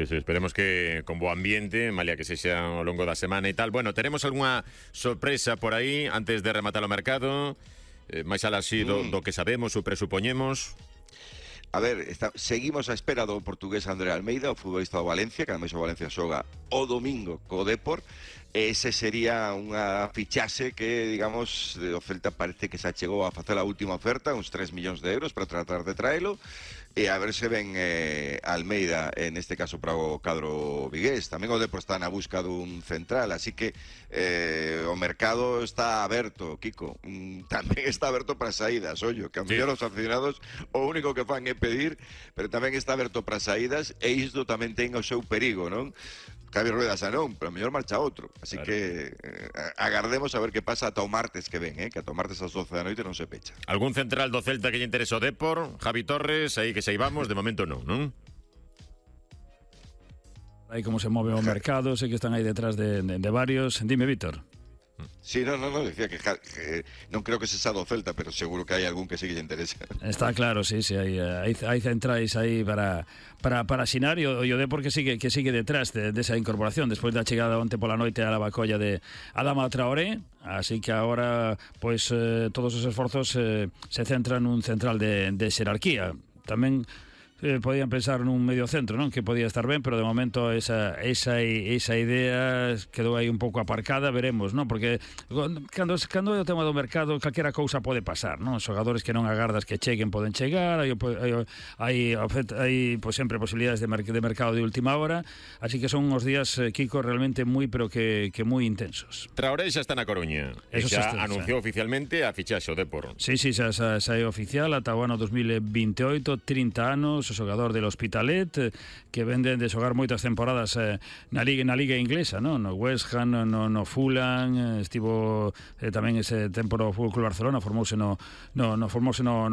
Sí, esperemos que con bo ambiente, malia que sexa ao longo da semana e tal. Bueno, teremos algunha sorpresa por aí antes de rematar o mercado, máis alá así do que sabemos ou presupoñemos. A ver, seguimos á espera do portugués André Almeida, o futbolista do Valencia, que ademais o Valencia xoga o domingo co Depor. Ese sería unha fichaxe que, digamos, o Celta parece que se achegou a facer a última oferta, uns 3 millóns de euros para tratar de traelo, e a ver se ven Almeida, en este caso para o cadro vigués. Tamén o Depor está na busca dun central, así que o mercado está aberto, Kiko. Tamén está aberto para saídas, ollo, que a mellor os aficionados o único que fan é pedir, pero tamén está aberto para saídas, e isto tamén ten o seu perigo, non? Javi Rueda xa non, pero a mellor marcha outro. Así claro, que agardemos a ver que pasa ata o martes que ven, que ata o martes ás 12 da noite non se pecha. Algún central do Celta que lle interese o Depor? Javi Torres, aí que saibamos, de momento non? Aí como se move o mercado, sei que están aí detrás de varios. Dime, Víctor. Sí, no, decía que non creo que se xa do Celta, pero seguro que hai algún que sí que lle interesa. Está claro, sí, hai centrais aí para asinar, e o Depor que sigue detrás desa incorporación despois da chegada onte pola noite a la bacolla de Adama Traoré, así que agora pois todos os esforzos se centran nun central de xerarquía. Tamén podían pensar nun medio centro, non? Que podía estar ben, pero de momento esa idea quedou aí un pouco aparcada, veremos, non? Porque cando é o tema do mercado, calquera cousa pode pasar, non? Os xogadores que non agardas que cheguen poden chegar, hai pois sempre posibilidades de mercado de última hora, así que son uns días, Kiko, realmente moi, pero que moi intensos. Traoré xa está na Coruña, xa anunciou oficialmente a fichaxe o Depor. Sí, xa é oficial, ata o ano 2028, 30 anos, o xogador del Hospitalet, que vende de xogar moitas temporadas na liga inglesa, no West Ham, no Fulham, estivo tamén ese tempo no Fútbol Club Barcelona, formouse no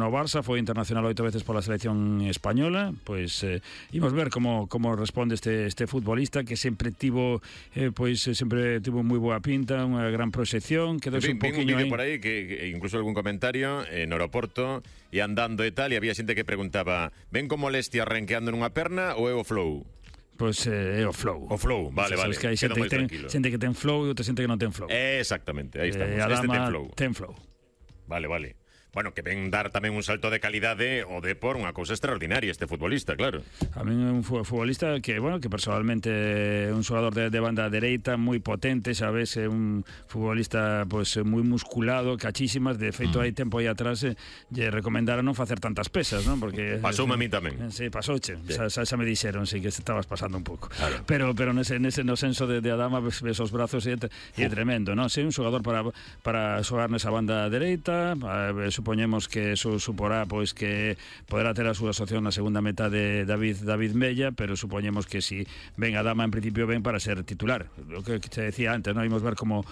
Barça, foi internacional 8 veces pola selección española. Pois imos ver como responde este futbolista que sempre tivo moi boa pinta, unha gran proxección, quedouse un poquinho aí por aí que incluso algún comentario no aeroporto e andando e tal, e había xente que preguntaba: ven como molestia renqueando nunha perna ou é o flow? Pois é o flow. O flow, vale. Que hai xente que ten flow e outra xente que non ten flow. Exactamente, aí estamos. Adama ten flow. Vale. Bueno, que ven dar tamén un salto de calidade o Depor, unha cousa extraordinaria este futbolista, claro. A mí é un futbolista que personalmente é un xogador de banda dereita moi potente, sabes, é un futbolista pois moi musculado, cachísimas, de feito hai tempo aí atrás lle recomendaron non facer tantas pesas, non? Porque pasoume a mí tamén. Sí, pasouche. Xa me dixeron, sí, que estabas pasando un pouco. Claro. Pero nese no senso de Adama, ves os brazos e é tremendo, non? Sí, un xogador para xogar nesa banda dereita, supoñemos que eso suporá pois que poderá ter a súa asociación na segunda meta de David Mella, pero supoñemos que si ven a Adama en principio ven para ser titular. Lo que te decía antes, non imos ver como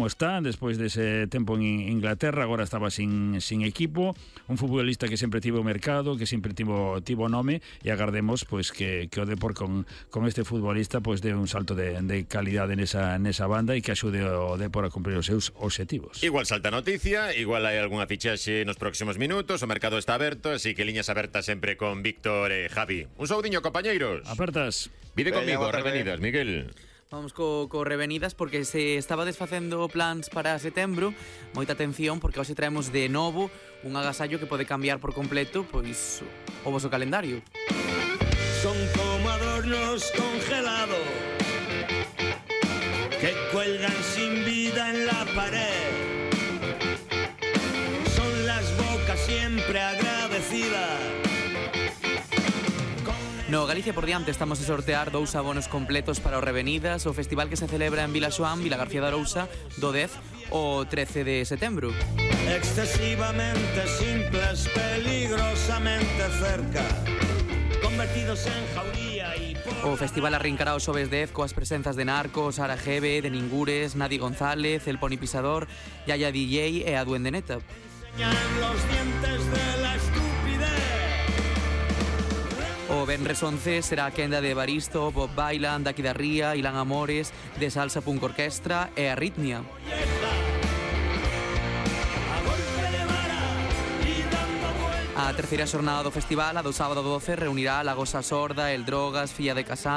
está despois dese tempo en Inglaterra, agora estaba sin equipo, un futbolista que sempre tivo mercado, que sempre tivo nome, e agardemos pois que o Depor con este futbolista pois dé un salto de calidade nesa banda e que axude o Depor a cumprir os seus obxectivos. Igual salta noticia, igual hai algunha fichaxe nos próximos minutos, o mercado está aberto, así que liñas abertas sempre con Víctor e Javi. Un saudiño, compañeiros. Apertas. Vide conmigo, Revenidas, Miguel. Vamos co Revenidas porque se estaba desfacendo plans para setembro. Moita atención porque hoxe traemos de novo un agasallo que pode cambiar por completo pois o voso calendario. Son como adornos congelados que cuelgan sin vida en la pared. Siempre agradecida. No Galicia por diante estamos a sortear 2 abonos completos para o Revenidas, o festival que se celebra en Vilaxoán, Vila García de Arousa, do 10 ao 13 de setembro. Excesivamente simples, peligrosamente cerca, convertidos en jauría y... O festival arrincará o xoves 10 coas presenzas de Narcos, Sara Gebe, de Ningures, Nadi González, El Pony Pisador, Yaya DJ e a Duende Neta. Los dientes de la estupidez. O venres 11 será a quenda de Baristo, Bob Bailan, Daqui da Ría, Ilan Amores, de Salsa Punk Orquestra e Arritmia. A terceira xornada do festival, a do sábado 12, reunirá a Lagosa Sorda, El Drogas, Filla de Casán,